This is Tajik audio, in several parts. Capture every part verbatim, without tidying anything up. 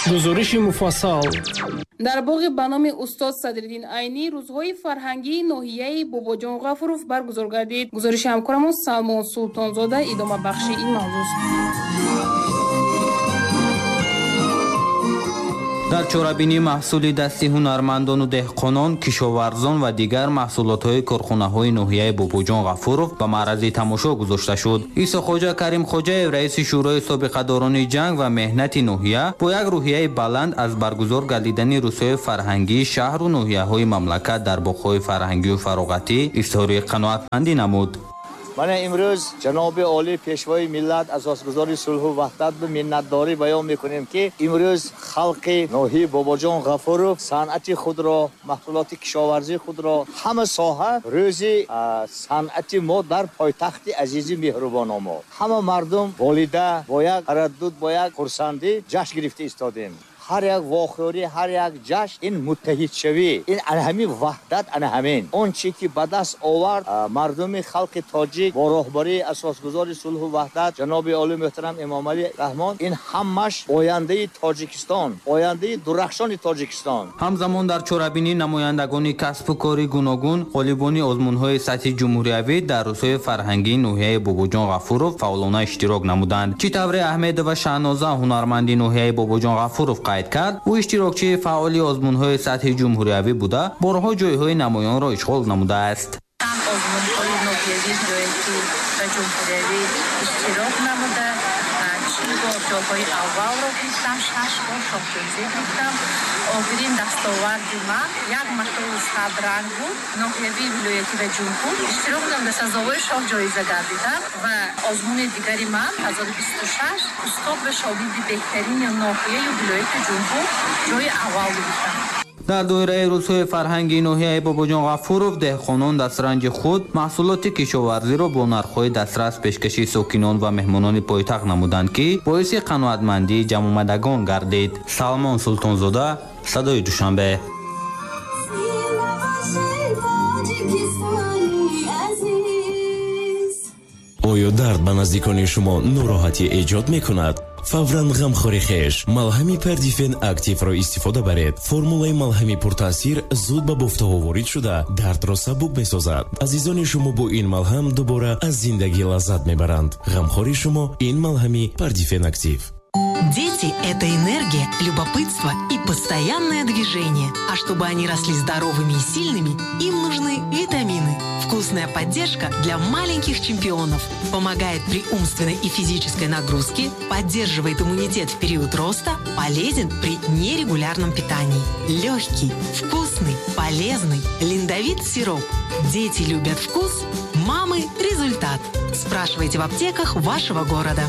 Гузориши муфассал. Дар боғи ба номи устод Садриддин Айнӣ рӯзҳои фарҳангии ноҳияи Бобоҷон Ғафуров баргузор гардид. Гузориши ҳамкорамон Салмон Султонзода идомабахши ин мавзӯст. Дар чорабинӣ маҳсули дасти ҳунармандону деҳқонон, кишоварзон ва дигар маҳсулотҳои корхонаҳои ноҳияи Бобоҷон Ғафуров ба маърази тамошо гузошта шуд. Исоқоҷа Каримхоҷаев, раиси шӯрои собиқадорони ҷанг ва меҳнати ноҳия, бо як рӯҳияи баланд аз баргузор гардидани рӯзҳои фарҳангии шаҳру ноҳияҳои мамлакат дар боғҳои фарҳангию фароғатӣ изҳори қаноатмандӣ намуд. Мана имрӯз ҷаноби олӣ пешвои миллат, асосгузори сулҳу ваҳдат ба миннатдорӣ баён мекунем, ки имрӯз халқи ноҳияи Бобоҷон Ғафуров санъати худро, маҳсулоти кишоварзии худро, ҳама соҳа рӯзи санъати мо дар пойтахти азизи меҳрубоно мо. Ҳама мардум болида бо як тараддуд, бо як хурсандӣ ҷашн гирифта истодем. Ҳар як вохӯрӣ, ҳар як ҷашн ин муттаҳидшавӣ, ин ана ҳамин ваҳдат, ана ҳамин он чи ки ба даст овард мардуми халқи тоҷик бо роҳбарии асосгузори сулҳу ваҳдат ҷаноби олӣ муҳтарам Эмомалӣ Раҳмон, ин ҳамаш ояндаи Тоҷикистон, ояндаи дурахшони Тоҷикистон. Ҳамзамон дар чорабинӣ намояндагони касбу кори гуногун, ғолибони озмунҳои сатҳи ҷумҳуриявӣ дар рӯзҳои фарҳангии ноҳияи Бобоҷон Ғафуров фаъолона иштирок намуданд. Чӣ тавре Аҳмедова Шаҳноза, ҳунарманди ноҳияи Бобоҷон Ғафуров, қайд кард, ӯ иштирокчии фаъоли озмунҳои сатҳи ҷумҳуриявӣ буда, борҳо ҷойҳои намоёнро ишғол намудааст. Чанд озмунҳои ноҳиявӣ, вилоятӣ ва ҷумҳуриявӣ иштирок намуда, чил бор ҷойҳои аввалро гирифтам, шаш бор шоҳҷоиза гирифтам. Охирин дастоварди ман як матои садранг буд, ноҳиявӣ, вилоятӣ ва ҷумҳур иштирок намуда, сазовори шоҳҷоиза гардидам. Ва озмуни дигари ман ҳазору бисту шаш устод ва шогирди беҳтарини ноҳияю вилояти ҷумҳур ҷойи аввал гирифтам. Дар доираи рӯзҳои фарҳангии ноҳияи Бобоҷон Ғафуров деҳқонон дастранҷи худ маҳсулоти кишоварзиро бо нархҳои дастрас пешкаши сокинон ва меҳмонони пойтахт намуданд, ки боиси қаноатмандии ҷамъомадагон гардид. Салмон Султонзода, Садои Душанбе. Оё дард ба наздикони шумо нороҳатӣ эҷод мекунад? Фавран ғамхори хеш малҳами Пардифен Активро истифода баред. Формулаи малҳами пуртаъсир зуд ба бофтаҳо ворид шуда, дардро сабук месозад. Азизони шумо бо ин малҳам дубора аз зиндагӣ лаззат мебаранд. Ғамхори шумо ин малҳами Пардифен Актив. Дети – это энергия, любопытство и постоянное движение. А чтобы они росли здоровыми и сильными, им нужны витамины. Вкусная поддержка для маленьких чемпионов. Помогает при умственной и физической нагрузке, поддерживает иммунитет в период роста, полезен при нерегулярном питании. Легкий, вкусный, полезный Линдовит сироп. Дети любят вкус, мамы – результат. Спрашивайте в аптеках вашего города.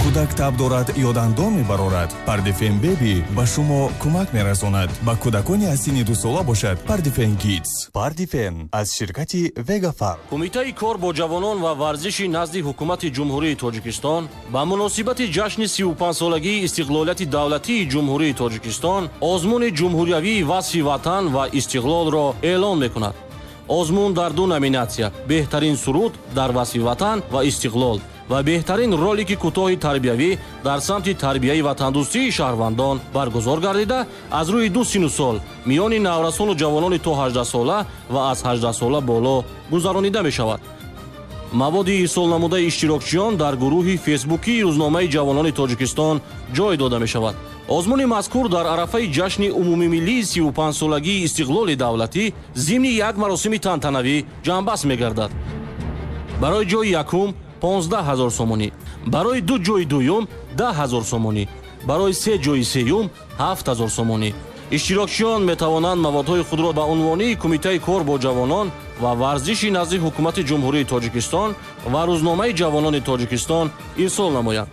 Кӯдак таб дорад ё дандон мебарорад, Пардифен Беби ба шумо кӯмак мерасонад. Ба кӯдакони аз синни дусола бошад Пардифен Кидс. Пардифен аз ширкати Вегафарм. Кумитаи кор бо ҷавонон ва варзиши назди ҳукумати Ҷумҳурии Тоҷикистон ба муносибати ҷашни сию панҷсолагии истиқлолияти давлатии Ҷумҳурии Тоҷикистон озмуни ҷумҳуриявии васфи ватан ва истиқлолро эълон мекунад. Озмун дар ду номинатсия: беҳтарин суруд дар васфи ватан ва истиқлол ва беҳтарин ролики кӯтоҳи тарбиявӣ дар самти тарбияи ватандӯстии шаҳрвандон баргузор гардида, аз рӯи ду сину сол миёни наврасону ҷавонони то ҳаждаҳсола ва аз ҳаждаҳсола боло гузаронида мешавад. Маводи ирсолнамудаи иштирокчиён дар гурӯҳи фейсбукии рӯзномаи ҷавонони Тоҷикистон ҷой дода мешавад. Озмуни мазкур дар арафаи ҷашни умумимиллии сию панҷсолагии истиқлоли давлатӣ зимни як маросими тантанавӣ ҷамъбаст мегардад. Барои ҷои якум понздаҳ ҳазор сомонӣ, барои ду ҷои дуюм даҳ ҳазор сомонӣ, барои се ҷои сеюм ҳафт ҳазор сомонӣ. Иштирокчиён метавонанд маводҳои худро ба унвони Кумитаи кор бо ҷавонон ва варзиши назди ҳукумати Ҷумҳурии Тоҷикистон ва рӯзномаи ҷавонони Тоҷикистон ирсол намоянд.